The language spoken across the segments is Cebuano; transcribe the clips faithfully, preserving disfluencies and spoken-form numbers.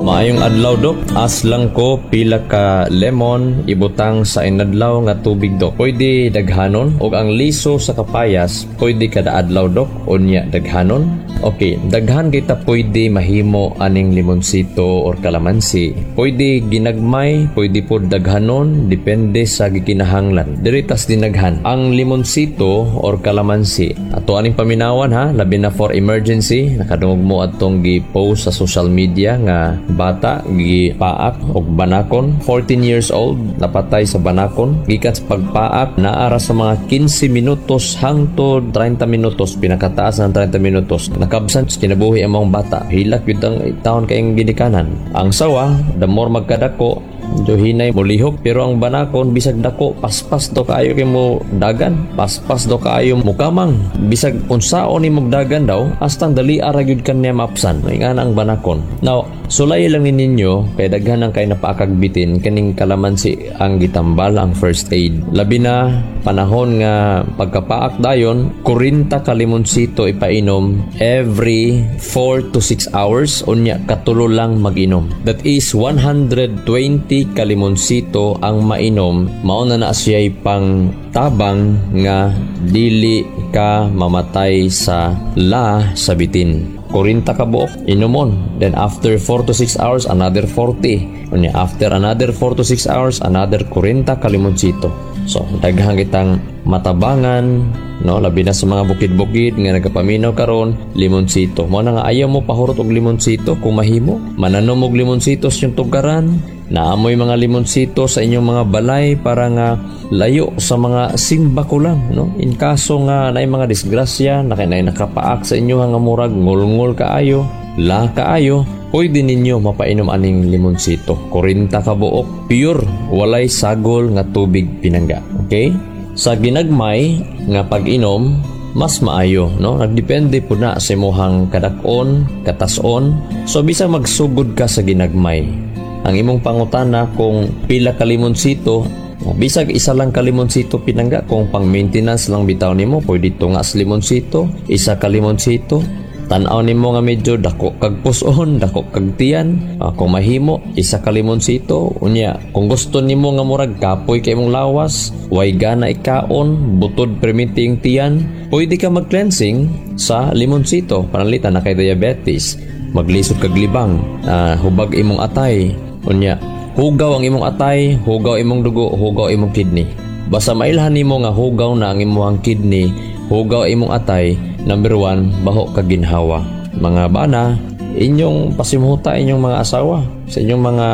Maayong adlaw, Dok. Ask lang ko, pila ka lemon ibutang sa inadlaw nga tubig, Dok? Pwede daghanon? Og ang liso sa kapayas, pwede kada adlaw, Dok? Unya daghanon? Okay, daghan kita pwede mahimo aning limonsito or kalamansi. Pwede ginagmay, pwede pod daghanon, depende sa gikinahanglan. Diri tas dinaghan. Ang limonsito or kalamansi, ato aning paminawan ha, labi na for emergency, nakadungog mo atong gi-post sa social media nga bata gipaak og banakon, fourteen years old, napatay sa banakon gikan sa pagpaak. Naara sa mga kinse minutos hangtod trenta minutos, pinakataas ng trenta minutos, nakabsan sa kinabuhi ang mga bata. Hilak yun ang taon kayong ginikanan. Ang sawa, the more magkadako, medyo hinay molihok, pero ang banakon, bisag dako, paspas do kaayo kay mo dagan, paspas do kaayo mukamang. Bisag unsaon ni dagan daw, hastang dali ara gyud kanya maapsan. Nga ang banakon. Now, sulay lang ni ninyo kay daghan ang kay napaakagbitin kaning kalamansi ang gitambal, ang first aid. Labi na panahon nga pagkapaak dayon, forty ka limonsito ipainom every four to six hours, unya katulo lang mag-inom. That is one hundred twenty ka limonsito ang mainom, mao na na siya'y pang tabang nga dili ka mamatay sa la sa bitin. forty ka buok inumon, then after four to six hours, another forty. Unya after another four to six hours, another forty ka limonsito. So daghang kitang matabangan, no? Labi na sa mga bukid-bukid nga nagapaminaw karon, limonsito mo na nga. Ayaw mo pahurot og limonsito. Kung mahimo, mananom og limonsito sa inyong tugaran, naamoy mga limonsito sa inyong mga balay, para nga layo sa mga simbako lang, no? In kaso nga naay mga disgrasya na kay nakapaak sa inyo nga murag ngulngol kaayo, la kaayo, pwede ninyo mapainom aning limonsito, forty ka buok, pure, walay sagol nga tubig pinangga. Okay, sa ginagmay nga pag-inom mas maayo, no? Nagdepende po na sa imuhang kadak-on, katason. So bisag magsugod ka sa ginagmay, ang imong pangutana kung pila ka limonsito, bisag isa lang ka limonsito pinangga, kung pang maintenance lang bitaw nimo, pwede tunga sa limonsito, isa ka limonsito. Tan-aw nimo nga medyo dako kag puson, dako kag tiyan, uh, kung mahimo, isa ka limonsito. Unya kung gusto nimo nga murag kapoy kay imong lawas, way gana ikaon, butod perminti yung tiyan, pwede ka mag-cleansing sa limonsito. Pananglitan na kay diabetes, maglisod kag libang, uh, hubag imong atay. Unya hugaw ang imong atay, hugaw imong dugo, hugaw imong kidney. Basta mailhan nimo nga hugaw na ang imong kidney, hugaw imong atay, number one, baho ka ginhawa. Mga bana, inyong pasimhuta inyong mga asawa sa inyong mga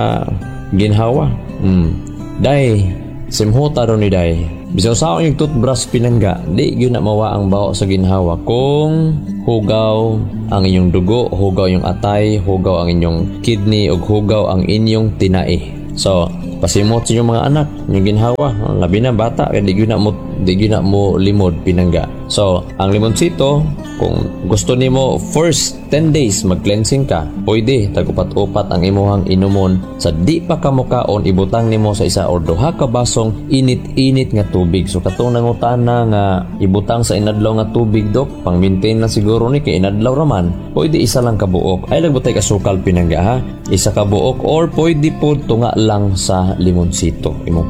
ginhawa. Mm. Day, simhuta ron ni day. Bisan sa yung toothbrush pinangga, di gyud na mawa ang baho sa ginhawa kung hugaw ang inyong dugo, hugaw yung atay, hugaw ang inyong kidney, ug hugaw ang inyong tinai. So, pasimot sa inyong mga anak, inyong ginhawa, labi na bata, kay di gyud na mo di gyud na mo limod pinangga. So, ang limonsito, kung gusto nimo first ten days mag-cleansing ka, pwede tag-upat-upat ang imuhang inumon sa di pa ka mukaon, ibutang nimo sa isa or duha ka basong init-init nga tubig. So katong nangutana nga ibutang sa inadlaw nga tubig, Dok, pang maintain lang siguro ni kay inadlaw raman, pwede isa lang ka buok. Ay lagbutay kasukal pinangga ha. Isa ka buok or pwede po tunga lang sa limonsito imo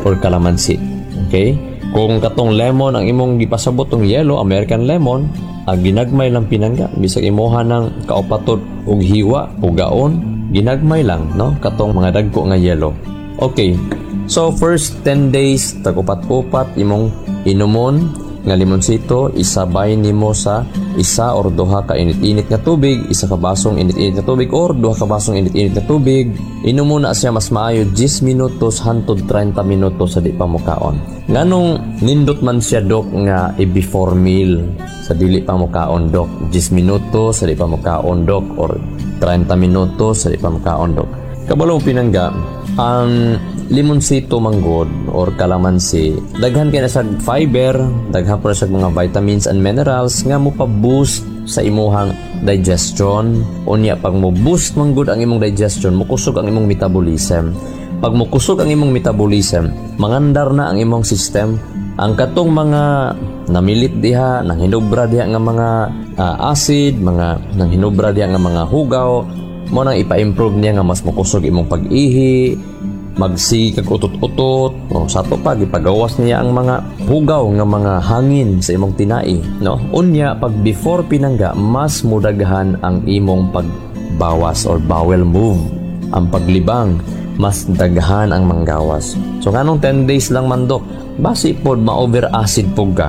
or kalamansi. Okay? Kung katong lemon ang imong gipasabot tong yellow American lemon, ang ginagmay lang pinangga, bisag imuha ng kaupatod og hiwa ugaon, ginagmay lang, no? Katong mga dagko nga yellow. Okay. So first ten days, tag-upat-upat imong inumon nga limonsito, isabay nimo sa isa or duha ka init-init nga tubig, isa ka basong init-init nga tubig or duha ka basong init-init nga tubig. Inumo na siya mas maayo ten minutos hantod trenta minutos sa di pa mukaon. Nganong nindot man siya, Dok, nga i-before meal sa dili pa mukaon, Dok? ten minutos sa di pa mukaon, Dok, or trenta minutos sa di pa mukaon, Dok? Kabalo pinangga, ang limonsito manggod or kalamansi, daghan kay na siya fiber, daghan po na siya mga vitamins and minerals nga mo pa-boost sa imuhang digestion. Unya pag mo boost manggod ang imong digestion, mokusog ang imong metabolism. Pag mokusog ang imong metabolism, mangandar na ang imong system. Ang katong mga namilit diha, nang hinubra diha nga mga uh, acid, mga nang hinubra diha nga mga hugaw, Mo nang ipa-improve niya nga mas mokusog imong pag-ihi, magsige kag utot-utot, o sa ato pa gipagawas niya ang mga hugaw nga mga hangin sa imong tinai, no? Unya pag before, pinangga, mas mudaghan ang imong pagbawas or bowel move, ang paglibang, mas daghan ang manggawas. So nganong ten days lang man, dok? Basi pod ma-over acid pug ka,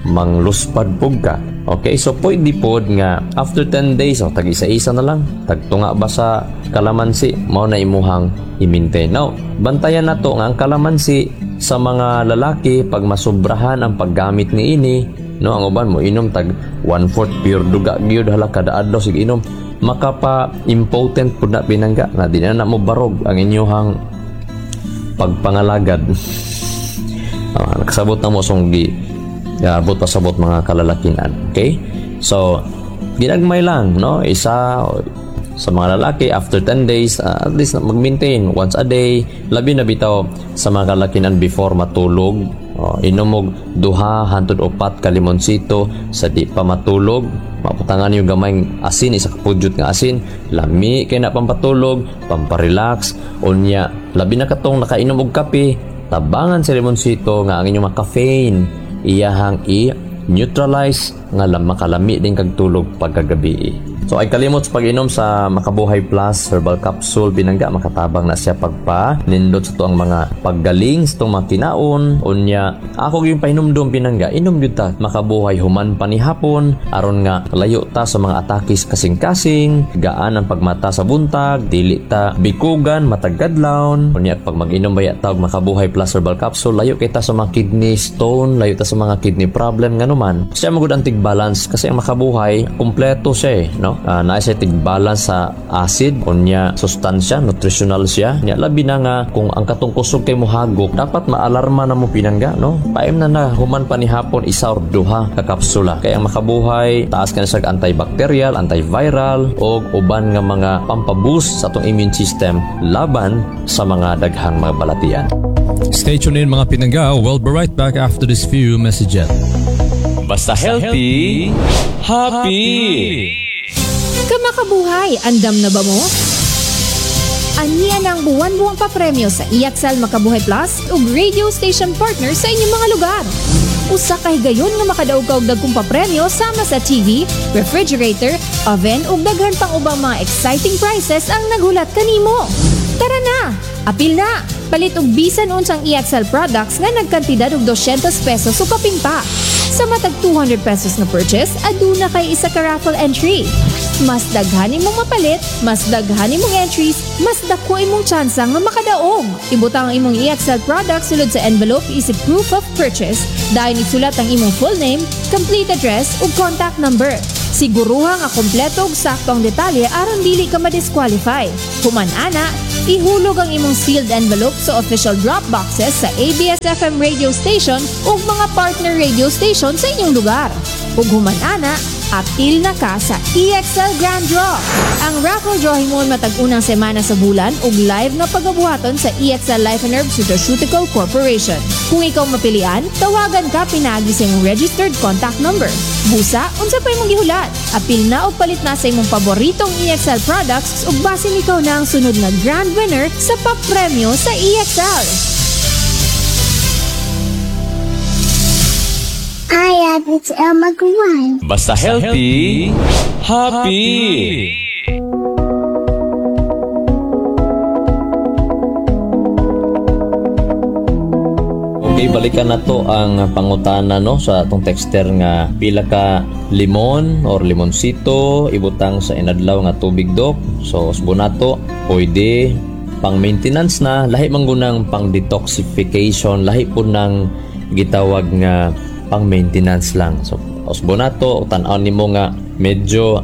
mangluspad pug ka. Okay, so pwede pod nga after ten days, oh, tag isa-isa na lang, tagtunga ba sa kalamansi, mao na imuhang i-maintain. Now, bantayan na to nga ang kalamansi sa mga lalaki, pag masubrahan ang paggamit ni ini, no, ang uban mo inom tag one-fourth pure duga gyud, hala, kada adlaw sig inom, makapa impotent pud na, pinangga, nga di na na mo barog ang inyuhang pagpangalagad. Uh, nakasabot na mo song gi abot pasabot, mga kalalakinan. Okay? So, ginagmay lang, no? Isa sa mga lalaki after ten days, uh, at least mag-maintain once a day, labi na bitaw sa mga kalalakinan before matulog. Oh, inom og duha hantod upat ka limonsito sa di pa matulog, maputangan yung gamay asin, isa ka pudyot nga asin, lami kay na pampatulog, pamparelax. Unya labi na katong nakainom og kape, tabangan sa limonsito nga ang inyong mga caffeine iyahang i-neutralize nga makalami din kag tulog pagkagabi. So ay kalimot sa pag-inom sa Makabuhay Plus Herbal Capsule, pinangga, makatabang na siya pagpa nindot sa tuang mga paggaling sa tuang mga kinaon. Unya ako yung pahinumdum, pinangga, inom gyud ta Makabuhay human pa ni hapon aron nga layo ta sa mga atakis kasing-kasing, gaan ang pagmata sa buntag, dili ta bikugan matag kadlawon. Unya pag mag-inom baya ta og Makabuhay Plus Herbal Capsule, layo kita sa mga kidney stone, layo ta sa mga kidney problem, nganuman siya magud ang tig-balance kasi ang Makabuhay kumpleto siya eh, no? Uh, naa siya tig-balance sa acid, unya sustansya, nutritional siya. Nya labi na nga kung ang katong kusog kay mohagok, dapat maalarma na mo, pinangga, no? Paim na na human pa ni hapon isa or duha ka kapsula. Kaya ang Makabuhay taas ka na sa antibacterial, antiviral og uban nga mga pampaboost sa atong immune system laban sa mga daghang mga balatian. Stay tuned in, mga pinangga. We'll be right back after this few messages. Basta healthy, happy. Kamakabuhay, andam na ba mo? Ania na ang buwan-buwang papremyo sa E X L Makabuhay Plus ug radio station partner sa inyong mga lugar. Usa ka higayon nga makadaog ka og dagkong papremyo sama sa T V, refrigerator, oven ug daghan pang ubang mga exciting prizes ang naghulat kanimo. Tara na! Apil na! Palit og bisan unsang E X L products nga nagkantidad og dosyentos pesos o kapin pa. Sa matag two hundred pesos na purchase, aduna kay isa ka raffle entry. Mas daghan imong mapalit, mas daghan imong entries, mas dako imong tsansa nga makadaog. Ibutang ang imong E X L products sulod sa envelope isip proof of purchase, dayon isulat ang imong full name, complete address ug contact number. Siguruha nga kompleto ug sakto ang detalye aron dili ka ma-disqualify. Human ana, ihulog ang imong sealed envelope sa official drop boxes sa A B S-F M radio station ug mga partner radio station sa inyong lugar. Ug human ana, apil na ka sa E X L Grand Draw. Ang raffle draw himuon matag unang semana sa bulan ug live nga pagabuhaton sa E X L Life and Herbs Nutraceutical Corporation. Kung ikaw mapilian, tawagan ka pinaagi sa imong registered contact number. Busa, unsa pa imong gihulat? Apil na og palit na sa imong paboritong E X L products ug basin ikaw na ang sunod nga grand winner sa papremyo sa E X L. I have it's Elma Guan. Basta healthy, happy. Okay, balikan na to ang pangutana, no, sa atong texter nga pila ka limon or limonsito ibutang sa inadlaw nga tubig, dok. So usbo nato, pwede pang maintenance na, lahi man gunang pang detoxification, lahi po ng gitawag nga pang maintenance lang. So usbo nato, tan-aw nimo nga medyo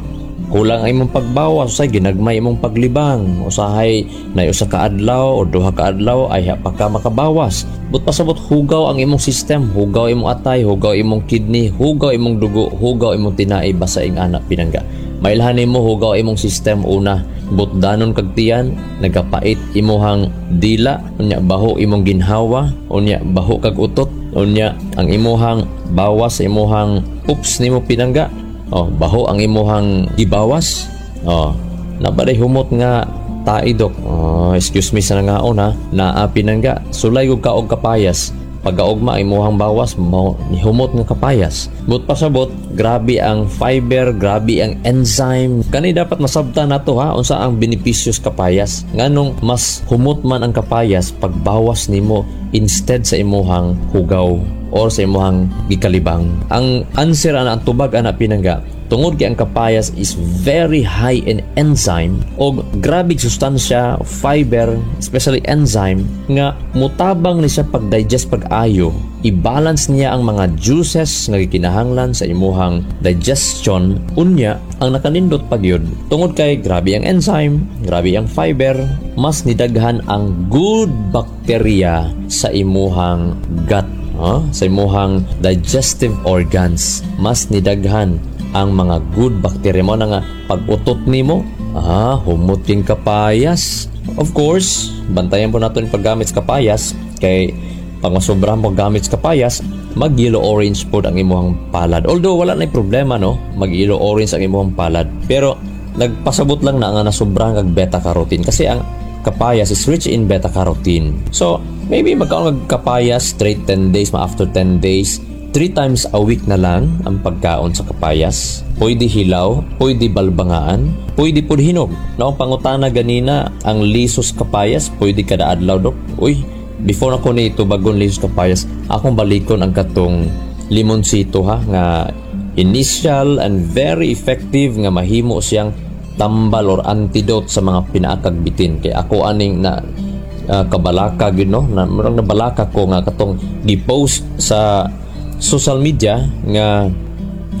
kulang ang imong pagbawas, usahay ginagmay imong paglibang, usahay na usa ka adlaw o duha ka adlaw ay pa ka makabawas. But pasabot hugaw ang imong system, hugaw imong atay, hugaw imong kidney, hugaw imong dugo, hugaw imong tinai, basta ing anak, pinangga. Mailhan nimo hugaw imong system una, butdanon kag tiyan, nagapait imuhang dila, unya baho imong ginhawa, unya baho kag utot, unya ang imuhang bawas sa imuhang poops nimo, pinangga. Oh, baho ang imuhang gibawas. Oh, Nabaday humot nga tae, Dok? Oh, excuse me sa nangaon ha. Naa, pinangga. Sulay og kaog kapayas. Pagkaugma, imuhang bawas mo humot nga kapayas. But pasabot, grabe ang fiber, grabe ang enzyme. Kani dapat masabta nato ha, unsa ang benepisyo sa kapayas. Nganong mas humot man ang kapayas pagbawas nimo instead sa imuhang hugaw or sa imuhang gikalibang. Ang answer ana, ang tubag ana, pinangga, tungod kay ang kapayas is very high in enzyme og grabe sustansya, fiber, especially enzyme nga mutabang ni siya pag-digest pag-ayo. I-balance niya ang mga juices nga gikinahanglan sa imuhang digestion. Unya, ang nakanindot pag yun, tungod kay grabe ang enzyme, grabe ang fiber, mas nidaghan ang good bacteria sa imuhang gut, huh? Sa imuhang digestive organs, mas nidaghan ang mga good bacteria mo na nga pag-utot nimo, ah, humot king kapayas. Of course, bantayan po nato yung paggamit sa kapayas kay pag masobrahan paggamit sa kapayas, mag yellow orange pod ang imuhang palad. Although wala na problema, no, mag yellow orange ang imuhang palad, pero nagpasabot lang na nga nasobrahan kag beta carotene kasi ang kapayas is rich in beta carotene. So maybe magkaon kag kapayas straight ten days, ma after ten days, three times a week na lang ang pagkaon sa kapayas. Pwede hilaw, pwede balbangaan, pwede pud hinog. Naong pangutana ganina, ang lisos kapayas, pwede kada adlaw, Dok? Uy, before ako ni tubagon lisos kapayas, akong balikon ang katong limonsito ha, nga initial and very effective nga mahimo siyang tambal or antidote sa mga pinaakag bitin. Kay ako aning na uh, kabalaka gyud, no, na murag nabalaka ko nga katong gi-post sa social media nga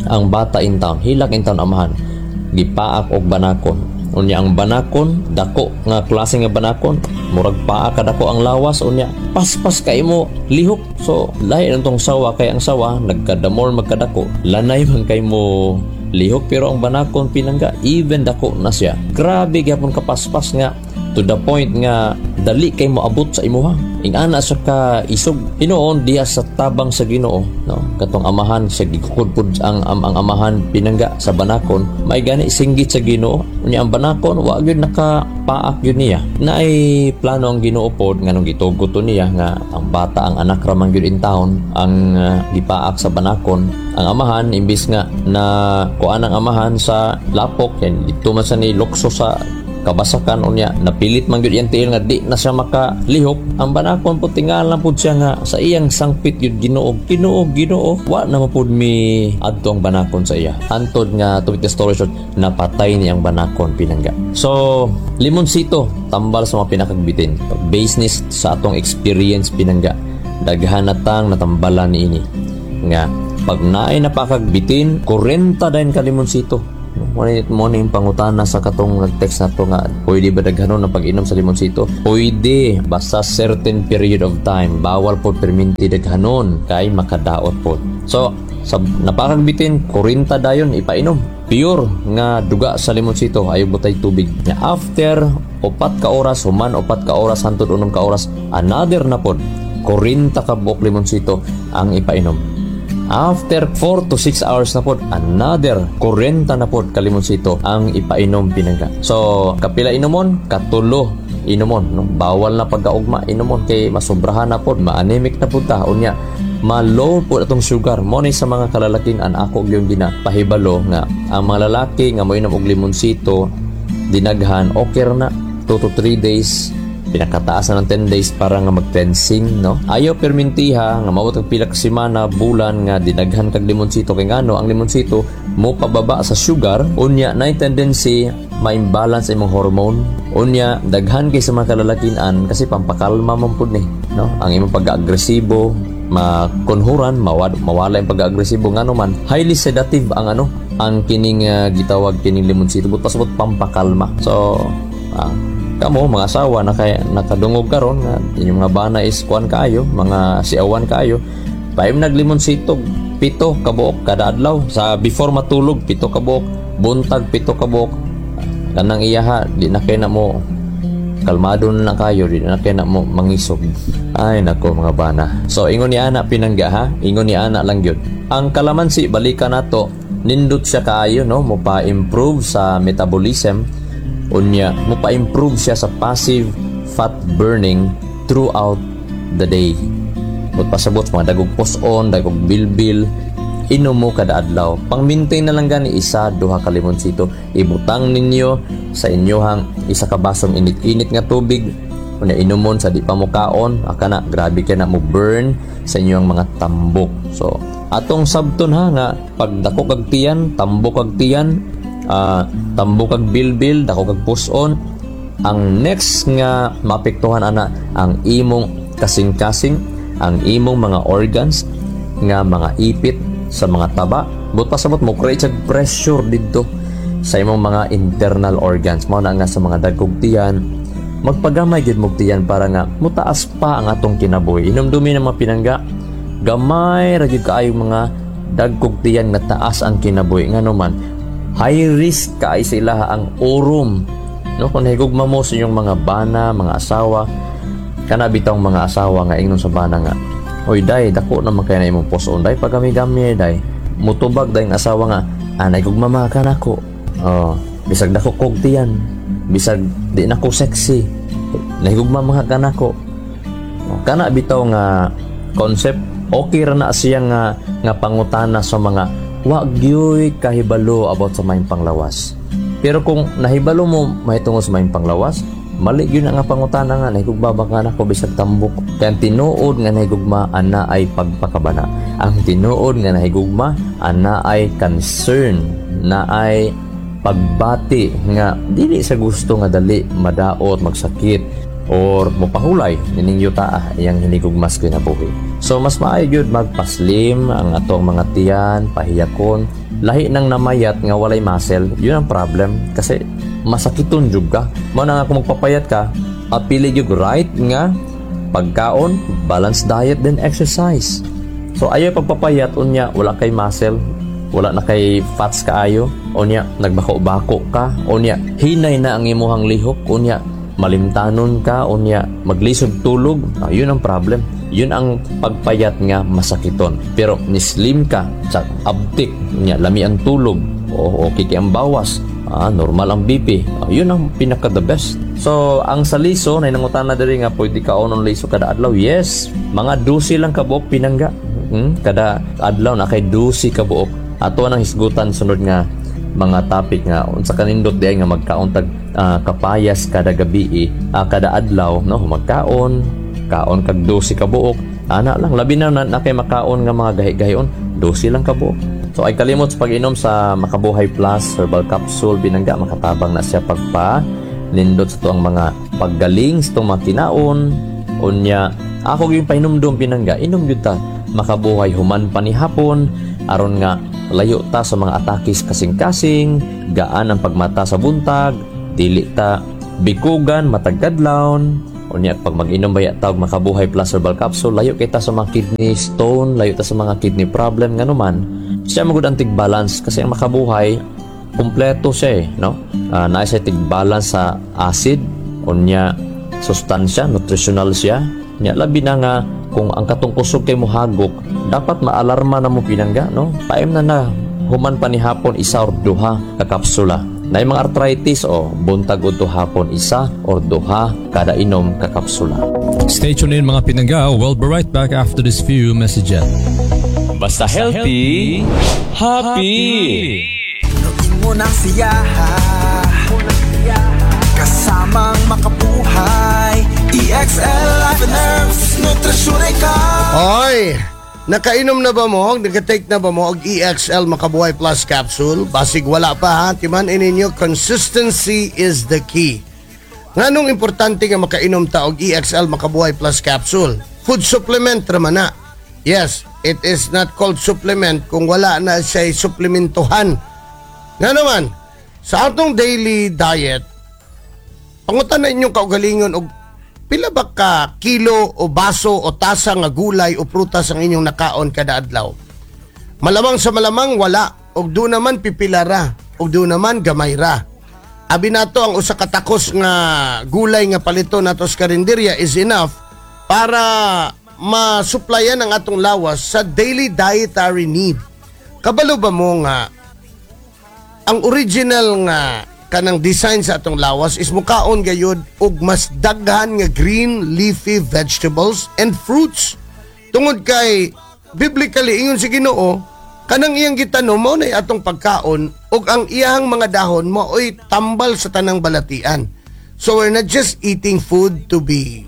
ang bata in town, hilak in town amahan, gipaak og banakon. Unya ang banakon, dako nga klase nga banakon, murag paa kadako ang lawas, unya paspas kay mo lihok. So lahi nang tong sawa kay ang sawa nagkadamol magkadako, lanay man kay mo lihok, pero ang banakon, pinangga, even dako na siya, grabe gyapon kapaspas nga to the point nga dali kay moabot sa imuha. Ingana siya ka isog. Hinuon diha sa tabang sa Ginoo, no, katong amahan sa gikukod pud ang, ang, ang amahan, pinangga, sa banakon, may gani singgit sa Ginoo. Unya ang banakon wa gyud nakapaak gyud niya. Naay plano ang Ginoo pod nganong gitugot to niya nga ang bata, ang anak ra man gyud in town ang uh, gipaak sa banakon. Ang amahan, imbis nga na kuan ang amahan sa lapok yan dito man sa ni lukso sa kabasakan, unya napilit man gyud iyang tiil nga di na siya makalihok. Ang banakon po, tingala pud siya nga sa iyang sangpit gyud, "Ginoo, Ginoo, Ginoo." Wa na pud mi adto ang banakon sa iya hantod nga, to make the story short, napatay ni ang banakon, pinangga. So limonsito, tambal sa mga pinakagbitin, based ni sa atong experience, pinangga, daghan na tang natambalan niini nga pag naay napakagbitin, kwarenta dayon ka limonsito. Mo ni mo ni yung pangutana sa katong nag-text na to nga pwede ba daghanon ang pag-inom sa limonsito? Pwede, basta certain period of time. Bawal po perminti daghanon kay makadaot po. So, sa napakagbitin, kwarenta dayon ipainom. Pure nga duga sa limonsito, ayaw butay tubig. Nga after upat ka oras, human upat ka oras hantod unom ka oras, another na pod, kwarenta ka buok limonsito ang ipainom. After four to six hours na pod, another kwarenta na pod kalimonsito ang ipainom, pinangga. So, kapila inomon? Katulo inomon. No? Bawal na pagkaugma inomon kay masobrahan na pod, ma-anemic na pod ta. Unya, ma-low po atong sugar. Mo ni sa mga kalalaking an ako yung ginapahibalo nga ang mga lalaki nga moinom og limonsito dinaghan, okay ra na two to three days, pinakataas na ng ten days para nga mag-cleansing, no? Ayaw permintiha nga maabot og pila ka semana, bulan nga dinaghan kag limonsito kay ngano ang limonsito mo pababa sa sugar, unya na tendency ma-imbalance imong hormone. Unya daghan kay sa mga kalalakian kasi pampakalma man pud ni, no? Ang imong pag-agresibo makunhuran, mawad, mawala yung pag-agresibo ngano man highly sedative ang ano, ang kining uh, gitawag kining limonsito, but pasabot pampakalma. So ah, kamo mga asawa na kay nakadungog karon nga inyong mga bana is kuan kaayo, mga siawan kaayo, paim naglimonsito pito kabuok kada adlaw. Sa before matulog, pito kabuok, buntag, pito kabuok. Kanang iyaha, di na kay na mo kalmado na lang kayo, di na kay na mo mangisog. Ay nako, mga bana. So ingon ni ana, pinangga ha, ingon ni ana lang gyud. Ang kalamansi, balikan nato, nindot siya kaayo, no, mo pa-improve sa metabolism. Unya mo pa-improve siya sa passive fat burning throughout the day. But pasabot mga dagog pus-on, dagog bilbil, inom mo kada adlaw. Pang-maintain na lang gani isa, duha ka limonsito. Ibutang ninyo sa inyohang isa ka basong init-init nga tubig. Unya inumon sa di pa mo kaon, aka na grabe ka na mo burn sa inyong mga tambok. So, atong sabton ha nga pag dako kag tiyan, tambok kag tiyan, ah, tambok kag bilbil, dako kag puson, ang next nga maapektuhan ana ang imong kasing-kasing, ang imong mga organs nga mga ipit sa mga taba. But pasabot mo create siya pressure didto sa imong mga internal organs. Mao na nga sa mga dagkog tiyan, magpagamay gyud mo tiyan para nga mutaas pa ang atong kinabuhi. Inumdumi ng mga pinangga, gamay ra gyud kaayong mga dagkog tiyan nga taas ang kinabuhi. Ngano man, high risk kay sila ang urom, no? Kung nahigugma mo sa inyong mga bana, mga asawa, kana bitawng mga asawa nga ingnon sa bana nga, "Oy day, dako naman kay na imong puson day, pagami-gami day." Mutubag day ang asawa nga, "Ah, nahigugma man ka nako. Oh, bisag dako kog tiyan, bisag di nako sexy, nahigugma man ka nako." Oh, kana bitaw nga concept, okay ra na siya nga nga pangutana sa mga wa gyoy kahibalo about sa maayong panglawas. Pero kung nahibalo mo mahitungod sa maayong panglawas, mali gyud na nga pangutana nga nahigugma ba ka nako bisag tambok. Kay ang tinuod nga nahigugma ana ay pagpakabana. Ang tinuod nga nahigugma ana ay concern, na ay pagbati nga dili sa gusto nga dali madaot, magsakit or mopahulay nining yuta iyang hinigugmas kinabuhi. So mas maayo gyud magpaslim ang atong mga tiyan, pahiyakon. Lahi nang namayat nga walay muscle, yun ang problem kasi masakiton jud ka. Mao na nga kung magpapayat ka, apili gyud right nga pagkaon, balanced diet, then exercise. So ayaw pagpapayat unya wala kay muscle, wala na kay fats kaayo, unya nagbako-bako ka, unya hinay na ang imuhang lihok, unya malimtanon ka, unya maglisod tulog, ah, yun ang problem. Yun ang pagpayat nga masakiton. Pero ni-slim ka, sa abtik, unya lami ang tulog, o okay kay ang bawas, ah, normal ang B P, ah, yun ang pinaka the best. So, ang sa liso, na nangutan na diri nga pwede kaonon liso kada adlaw. Yes, mga dusi lang kabuok, pinangga. Hmm? Kada adlaw na kay dusi kabuok. Ato nang hisgutan sunod nga mga topic nga unsa kanindot diay nga magkaon tag ah, kapayas kada gabi, ah, kada adlaw, no? Magkaon kaon kag dusi ka buok ana lang, labi na na, na kay makaon nga mga gahi-gahion, dusi lang ka buok. So ay kalimot sa pag-inom sa Makabuhay Plus Herbal Capsule, binangga, makatabang na siya pagpa nindot sa tuang mga paggaling sa tuang mga kinaon. Unya ako yung pahinumdum, pinangga, inom gyud ta Makabuhay human pa ni hapon aron nga layo ta sa mga atakis kasing-kasing, gaan ang pagmata sa buntag, dili ta bikugan matag kadlawon. Unya pag mag-inom baya ta og Makabuhay Plus Herbal Capsule, layo kita sa mga kidney stone, layo ta sa mga kidney problem. Ngano man, siya magud ang tig-balance kasi ang Makabuhay kumpleto siya eh, no? Uh, naa siya tig-balance sa acid, unya sustansya, nutritional siya. Nya labi na nga kung ang katong kusog kay mohagok, dapat maalarma na mo, pinangga, no? Paim na na human pa ni hapon isa or duha ka kapsula. Na mga arthritis o buntag udto hapon isa or duha kada inom ka kapsula. Stay tuned in, mga pinangga. We'll be right back after this few messages. Basta healthy, happy. Punuin mo ng siyaha kasamang makabuhay. E X L Life and Herbs. Nutrisyon ikaw. Oy, nakainom na ba mo? Naka-take na ba mo og E X L Makabuhay Plus Capsule? Basig wala pa ha. Timan ninyo, consistency is the key. Nganong importante nga makainom ta og E X L Makabuhay Plus Capsule? Food supplement raman na. Yes, it is not called supplement kung wala na siya suplementuhan. Nga naman, sa atong daily diet, pangutan na inyong kaugalingon og pila ba ka kilo o baso o tasa nga gulay o prutas ang inyong nakaon kada adlaw. Malamang sa malamang wala og do naman pipila ra og do naman gamay ra. Abi nato ang usa ka takos nga gulay nga palito nato sa karinderya is enough para masuplayan ang atong lawas sa daily dietary need. Kabalo ba mo nga ang original nga kanang design sa atong lawas is mukaon gayud og mas daghan nga green leafy vegetables and fruits. Tungod kay biblically, ingon si Ginoo, kanang iyang gitanom mao na atong pagkaon ug ang iyang mga dahon mao'y tambal sa tanang balatian. So we're not just eating food to be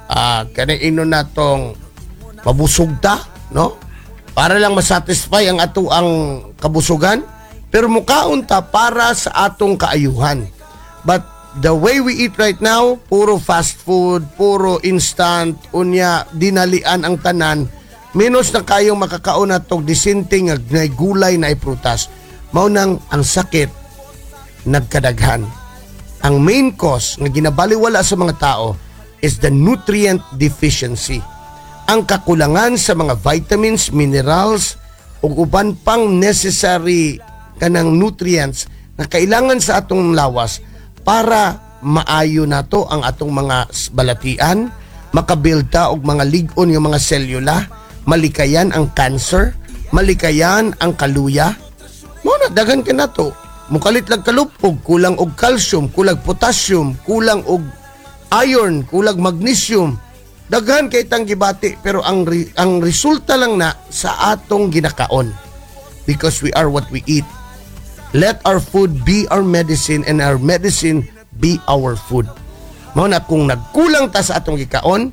ah kanang inon natong mabusog ta, no? Para lang masatisfy ang ato ang kabusugan, pero mukaon ta para sa atong kaayuhan. But the way we eat right now, puro fast food, puro instant, unya dinalian ang tanan, menos na kayong makakaon natog disente nga nay gulay na prutas. Mao nang ang sakit nagkadaghan. Ang main cause nga ginabaliwala sa mga tao is the nutrient deficiency. Ang kakulangan sa mga vitamins, minerals, ug uban pang necessary kanang nutrients na kailangan sa atong lawas para maayo nato ang atong mga s- balatian, makabuild ta og mga lig-on nga mga selula, malikayan ang cancer, malikayan ang kaluya. Mao na daghan ka nato. Mukalit lang kalupog, kulang og calcium, kulang potassium, kulang og iron, kulang magnesium. Daghan kay tang gibati, pero ang re- ang resulta lang na sa atong ginakaon. Because we are what we eat. Let our food be our medicine and our medicine be our food. Mao na kung nagkulang ta sa atong gikaon,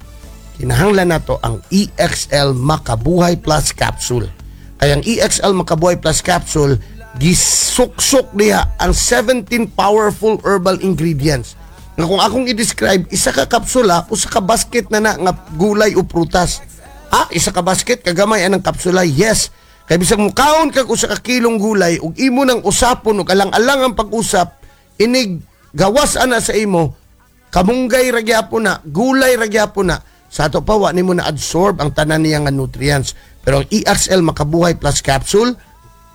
kinahanglan nato ang E X L Makabuhay Plus Capsule. Kaya ang E X L Makabuhay Plus Capsule, gisuksok niya ang seventeen powerful herbal ingredients. Nga kung akong i-describe, isa ka kapsula, usa ka basket na na nga gulay o prutas. Ah, isa ka basket, kagamay anang kapsula? Yes. Kay bisag mukaon kag usa ka kilong gulay ug imo nang usapon ug alang-alang ang pag-usap, inig gawas ana sa imo, kamunggay ra gyapon na, gulay ra gyapon na. Sa ato pa, wa nimo na absorb ang tanan niya nga nutrients. Pero ang E X L Makabuhay Plus Capsule,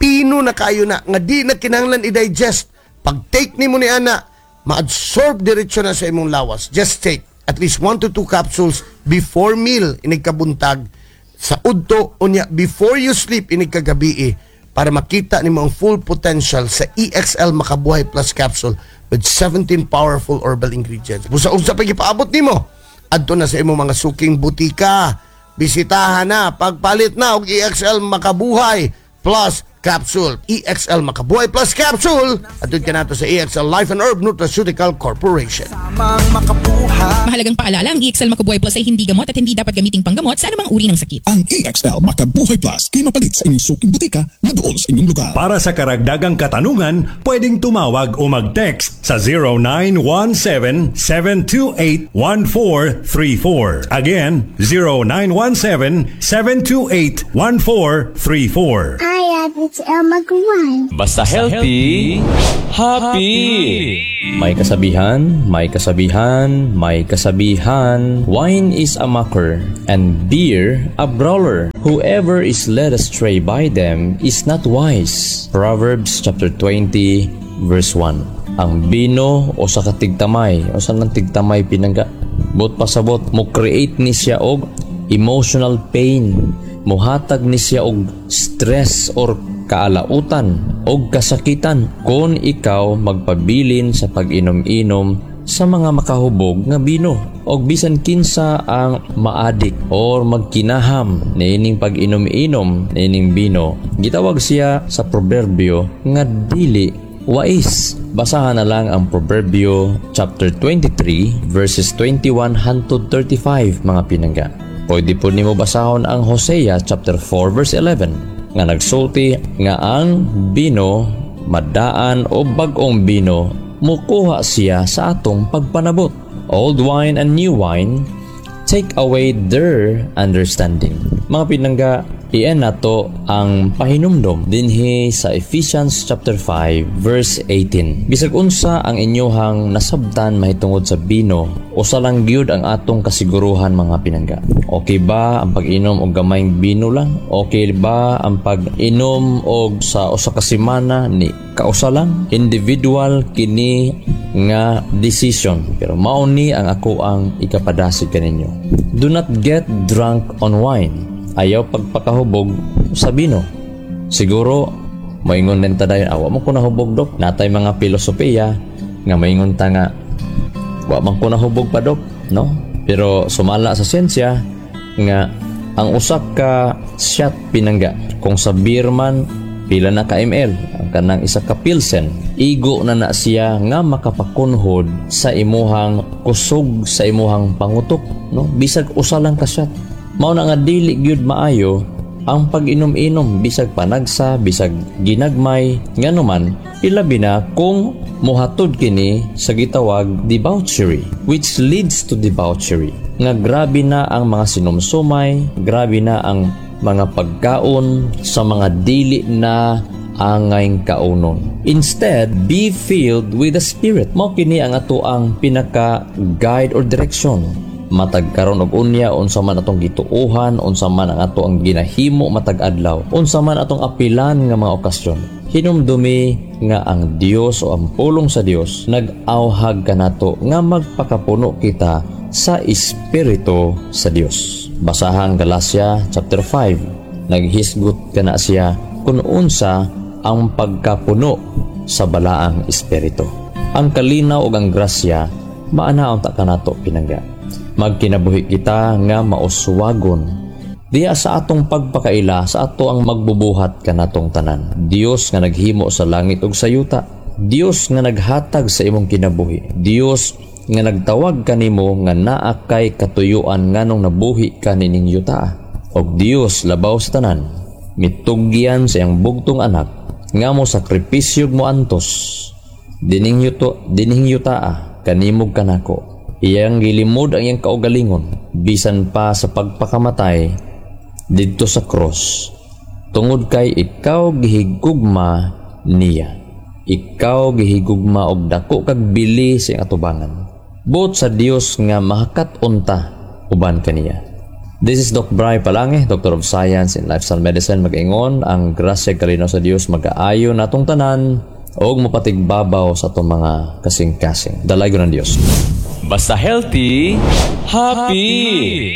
pino na kayo na nga di na kinahanglan i-digest. Pag take nimo ni ana, ma-absorb diretso na sa imong lawas. Just take at least one to two capsules before meal inig kabuntag, sa udto, unya before you sleep inig kagabi, para makita nimo ang full potential sa E X L Makabuhay Plus Capsule with seventeen powerful herbal ingredients. Busa unsa pa gipaabot nimo? Adto na sa imong mga suking butika. Bisitahan na, pagpalit na og E X L Makabuhay Plus Capsule. E X L Makabuhay Plus Capsule. Adto ka nato sa E X L Life and Herb Nutraceutical Corporation. Tamang makabuhay. Mahalagang paalala, ang E X L Makabuhay Plus ay hindi gamot at hindi dapat gamiting panggamot sa anumang uri ng sakit. Ang E X L Makabuhay Plus kay mapalit sa inyong suking butika na dool sa inyong lugar. Para sa karagdagang katanungan, pwedeng tumawag o mag-text sa zero nine one seven, seven two eight, one four three four. Again, zero nine one seven, seven two eight, one four three four. Hi, it's Elma Guan. Basta healthy, happy. May kasabihan, may kasabihan, may kasabihan. "Wine is a mocker and beer a brawler. Whoever is led astray by them is not wise." Proverbs chapter twenty verse one. Ang bino o sa katigtamay, o sa nang tigtamay, pinangga. Bot pasabot, mo create ni siya og emotional pain. Muhatag ni siya og stress or kaalautan og kasakitan kung ikaw magpabilin sa pag-inom-inom sa mga makahubog nga bino. Og bisan kinsa ang maadik or magkinaham niining pag-inom-inom niining bino, gitawag siya sa proberbyo nga dili wais. Basahan na lang ang Proverbio chapter twenty-three verses twenty-one hangtod thirty-five, mga pinangga. Pwede po nimo basahon ang Hosea chapter four verse eleven nga nagsulti nga ang bino madaan o bag-ong bino mukuha siya sa atong pagpanabot. Old wine and new wine take away their understanding. Mga pinangga, iyan nato ang pahinumdom dinhi sa Ephesians chapter five verse eighteen. Bisag unsa ang inyohang nasabtan mahitungod sa bino, usa lang gyud ang atong kasiguruhan, mga pinangga. Okay ba ang pag-inom og gamayng bino lang? Okay ba ang pag-inom og sa usa ka semana ni kausa lang? Individual kini nga decision. Pero mao ni ang ako ang ikapadasig kaninyo. Do not get drunk on wine. Ayaw pagpakahubog sa bino. Siguro, moingon din ta dayon, "Awa mo ko nahubog, dok." Natay mga filosofiya Nga maingon ta nga wa man ko nahubog pa, dok, no? Pero sumala sa siyensya nga ang usa ka shot, pinangga, kung sa beer man pila na ka M L ang kanang isa ka pilsen, igo na na siya nga makapakunhod sa imuhang kusog sa imuhang pangutok, no? Bisag usa lang ka shot. Mao na nga dili gyud maayo ang pag-inom-inom, bisag panagsa, bisag ginagmay, ngano man, ilabi na kung mohatod kini sa gitawag debauchery, which leads to debauchery nga grabe na ang mga sinumsumay, grabe na ang mga pagkaon sa mga dili na angay kaunon. Instead, be filled with the Spirit. Mao kini ang ato ang pinaka guide or direction matag karon og unya. Unsa man atong gituohan, unsa man ang ato ang ginahimo matag adlaw, unsa man atong apilan nga mga okasyon, hinumdumi nga ang Dios o ang pulong sa Dios nag-awhag kanato nga magpakapuno kita sa Espiritu sa Dios. Basahang Galatia chapter five, naghisgot kana siya kung unsa ang pagkapuno sa Balaang Espiritu. Ang kalinaw ug ang grasya maanaon ta kanato, pinangga. Magkinabuhi kita nga mauswagon diya sa atong pagpakaila sa ato ang magbubuhat kanatong tanan. Dios nga naghimo sa langit ug sa yuta, Dios nga naghatag sa imong kinabuhi, Dios nga nagtawag kanimo nga naa kay katuyuan nganong nabuhi ka nining yuta, ug Dios labaw sa tanan mitugyan sa iyang bugtong anak nga mo sakripisyo mo antos dining yuto dining yutaa kanimog kanako. Iyang gilimod ang iyang kaugalingon bisan pa sa pagpakamatay didto sa cross tungod kay ikaw gihigugma niya. Ikaw gihigugma og dako kag bili sa iyang atubangan. Buot sa Dios nga mahakat-on ta uban kaniya. This is Doc Bry Palange, Doctor of Science in Lifestyle Medicine, mag-ingon, ang grasya kalinaw sa Dios mag-aayo natong tanan og mapatigbabaw sa atong mga kasing-kasing. Dalaygon ng Dios. Basta healthy, happy.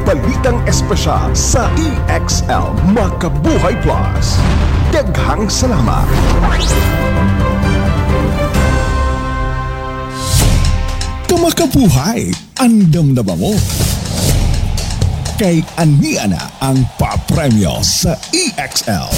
Balitang espesyal sa E X L Makabuhay Plus. Daghang salamat. Kamakabuhay, andam na ba mo? Kay ania na ang papremyo sa E X L.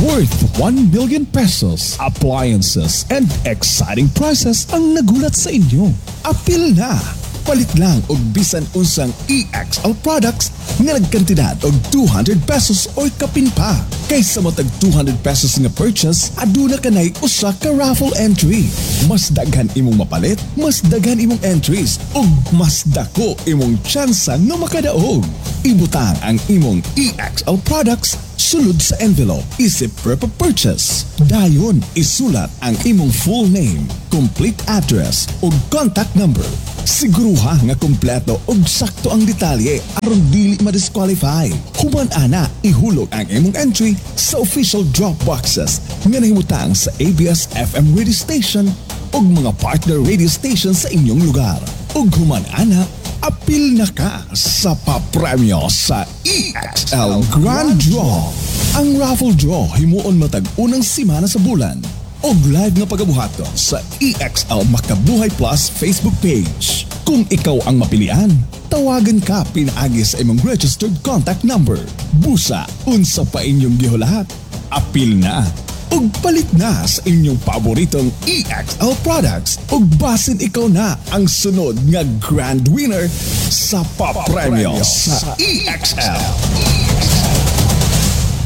Worth one million pesos, appliances, and exciting prizes ang nagulat sa inyo. Apil na! Palit lang og bisan unsang E X L products nga nagkantidad og two hundred pesos or kapin pa. Kaysa matag two hundred pesos nga purchase, aduna kanay usa ka raffle entry. Mas daghan imong mapalit, mas daghan imong entries ug mas dako imong tsansa nga makadaog. Ibutang ang imong E X L products sulod sa envelope isip proof of purchase. Dayon, isulat ang imong full name, complete address ug contact number. Siguruha nga kompleto ug sakto ang detalye aron dili ma-disqualify. Human ana, ihulog ang imong entry sa official drop boxes nga nahimutang sa A B S F M radio station ug mga partner radio station sa inyong lugar. Ug human ana, apil na ka sa papremyo sa E X L Grand Draw. Ang raffle draw himuon matag unang semana sa bulan og live nga pagabuhaton sa E X L Makabuhay Plus Facebook page. Kung ikaw ang mapilian, tawagan ka pinaagi sa imong registered contact number. Busa, unsa pa inyong gihulat? Apil na ug palit na sa inyong paboritong E X L products ug basin ikaw na ang sunod nga grand winner sa papremyo sa E X L.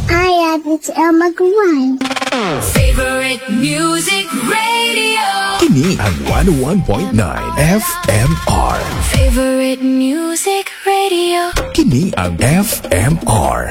I have it's Elma Guan. Favorite music radio. Kini ang one oh one point nine F M R. Favorite music radio. Kini ang F M R.